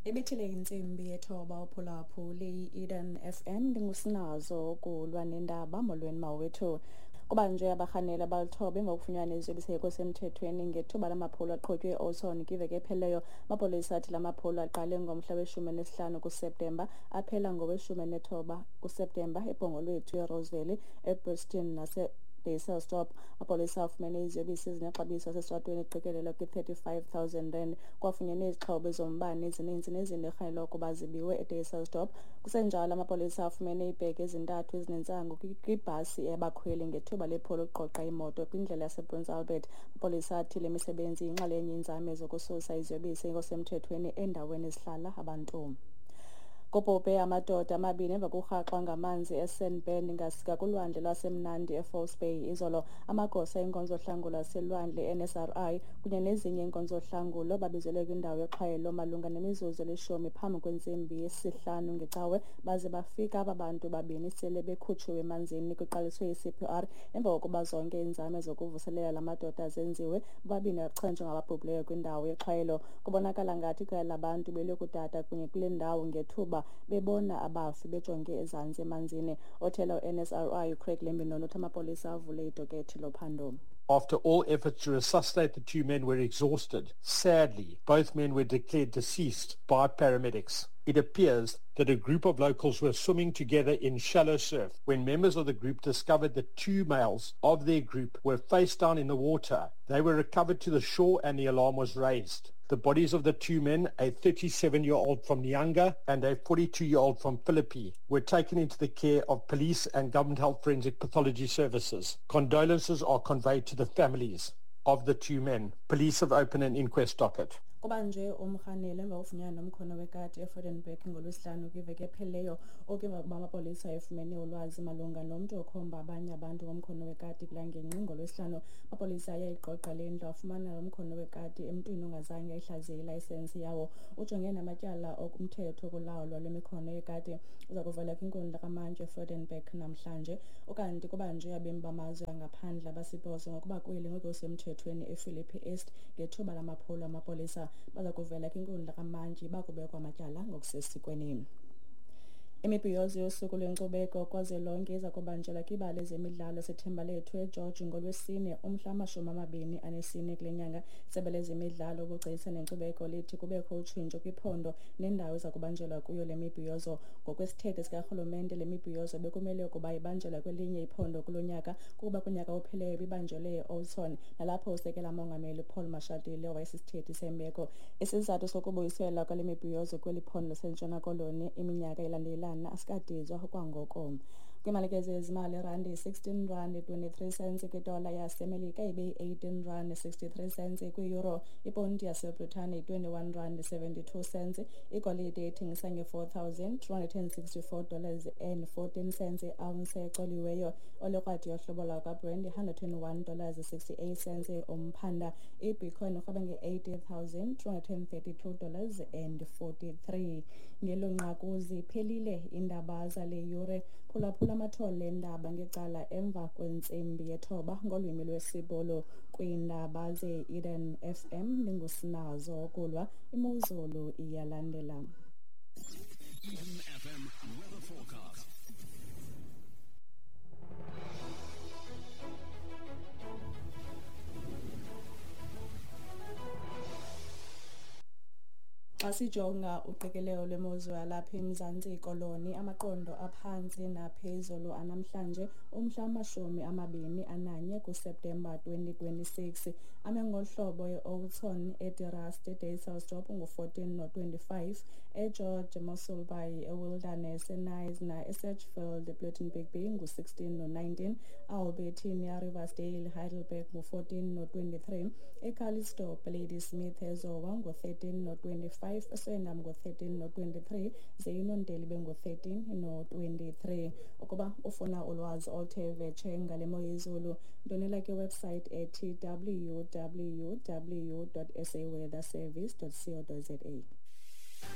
Ibethile intsimbi yethoba uphulaphuli i-Eden FM, ndingusinazo kulwa nendaba. Molweni mawethu. Kubanjwe abarhaneli abalithoba emva kokufunyanwa iziyobisi semthethweni ngethuba lamaphulo aqhutywe e-Oudtshoorn kwiveki ephelileyo. Amapolisa athi la maphulo aqale ngomhla we-15 kuSeptemba aphela ngowe-19 kuSeptemba eBhongolwethu, eRoseville, eBriston nase Dysselsdorp. Amapolisa afumene iziyobisi ezinexabiso lasesitratweni eqikelelwa kwi-35 000 rand. Kwafunyenwe izixhobo zombane ezininzi nezinto erhanelwa ukuba zibiwe eDysselsdorp. Kusenjalo, amapolisa afumene iibhegi ezintathu ezinentsangu kwibhasi yabakhweli ngethuba lephulo lokuqoqa imoto kwindlela yasePrince Albert. Amapolisa athi le misebenzi yinxalenye yeenzame zokususa iziyobisi ngokusemthethweni endaweni ezihlala abantu. Kubhubhe amadoda amabini emva kokurhaxwa ngamanzi eSandbend ngakulwandle lwasemnandi eFalse Bay izolo. Amagosa enkonzo yohlangulo laselwandle, NSRI, kunye nezinye iinkonzo zohlangulo babizelwe kwindawo yoxhwayelo malunga nemizuzu elishumi phambi kwentsimbi yesihlanu ngeCawe, baze bafika aba bantu babini sele bekhutshiwe emanzini, kuqaliswe i-CPR. Emva kokuba zonke iinzame zokuvuselela la madoda zenziwe, bobabini bachonjwa ngababhubhileyo kwindawo yexhwayelo. Kubonakala ngathi iqela labantu beliyokudada kunye kule ndawo ngethuba bebona abafi bejonge ezantsi emanzini. Othela u-NSRI uCraig Lambinon uthi amapolisa avule idokethi lophando. After all efforts to resuscitate the two men were exhausted, sadly, both men were declared deceased by paramedics. It appears that a group of locals were swimming together in shallow surf when members of the group discovered that two males of their group were face down in the water. They were recovered to the shore and the alarm was raised. The bodies of the two men, a 37-year-old from Nyanga and a 42-year-old from Philippi, were taken into the care of police and government health forensic pathology services. Condolences are conveyed to the families of the two men. Police have opened an inquest docket. Kubanjwe umrhaneli emva kokufunyanwa nomkhono wekati eVredenburg ngoLwesihlanu kwiveki ephelileyo. Oku emva kokuba amapolisa efumene ulwazi malunga nomntu okhomba abanye abantu ngomkhono wekati kulaa ngingqi ngoLwesihlanu. Amapolisa ayayigqogqa le ndlu, afumana lo mkhono wekati emntwini ongazange ayihlaziye ilayisensi yawo. Ujongene namatyala okumthetho kulawulo lwemikhono yekati. Uza kuvela kwinkundla kamantyi eVredenburg namhlanje. Ukanti kubanjwe abemi bamazwe angaphandle abasibhozo ngokuba kweli ngokusemthethweni ePhilippi East ngethuba lamaphulo amapolisa. Baza kuvela kwinkundla kamantyi bakubekwa amatyala ngokusesikweni. Imibhiyozo yosuku lwenkcubeko kwazwelonke iza kubanjelwa kwibala lezemidlalo seThembalethu eGeorge ngoLwesine umhla 24 kule nyanga. Isebe lezemidlalo, ubugcisa nenkcubeko lithi kubekho utshintsho kwiphondo nendawo eza kubanjelwa kuyo le mibhiyozo. Ngokwesithethe sikarhulumente, le mibhiyozo bekumele ukuba ibanjelwa kwelinye iphondo kulo nyaka, kuba kunyaka ophelileyo ibibanjelwe e-Oudtshoorn, nalapho usekela mongameli Paul Mashatile wayesisithethi sembeko. Isizathu sokubuyiselwa kwale mibhiyozo kweli phondo laseNtshona Koloni iminyaka ilandelelana asikadizwa kwangoko. Kwimalike zezimali, irandi yi-16 rand 23 cents kwidola yaseMelika, ibe yi-18 rand 63 cents kwi-euro. Iponti yaseBritane yi-21 rand 72 cents. Igolide ithengisa nge-$4,264 and 14 cents i-ounce ecoliweyo. Olekrwada yohlobo lwakwaBrent yi-$121 68 cents umphanda. Ibitcoin irhweba nge-$80,232 and 43. Ngelo nqaku ziphelile iindaba zale yure. Phulaphula amathole endaba ngecala emva kwentsimbi yethoba ngolwimi lwesiBhulu kwiindaba ze-Eden FM. Ndingusinazo kulwa. Imozulu iyalandela. Eden FM weather forecast. Xa sijonga uqikelelo lwemozulu yalapha eMzantsi Koloni, amaqondo aphantsi naphezulu anamhlanje umhla 21 kuSeptemba 2026 ame ngolu hlobo: e-Oudtshoorn, eDe Rust, eDysselsdorp ngu-14 no-25, eGeorge, Mossel Bay, eWilderness, eKnysna, eSedgefield, Plettenberg Bay ngu-16 no-19, Albertinia, Riversdale, Heidelberg ngu-14 no-23, eCalitzdorp, Ladysmith, eZowa ngu-13 no-25, eSwellendam ngu-13 no-23, ze iNonteli bengu-13 no-23. Ukuba ufuna ulwazi oluthe vetshe ngale mo yezulu, ndwendwela kwiwebsite ethi www.saweatherservice.co.za.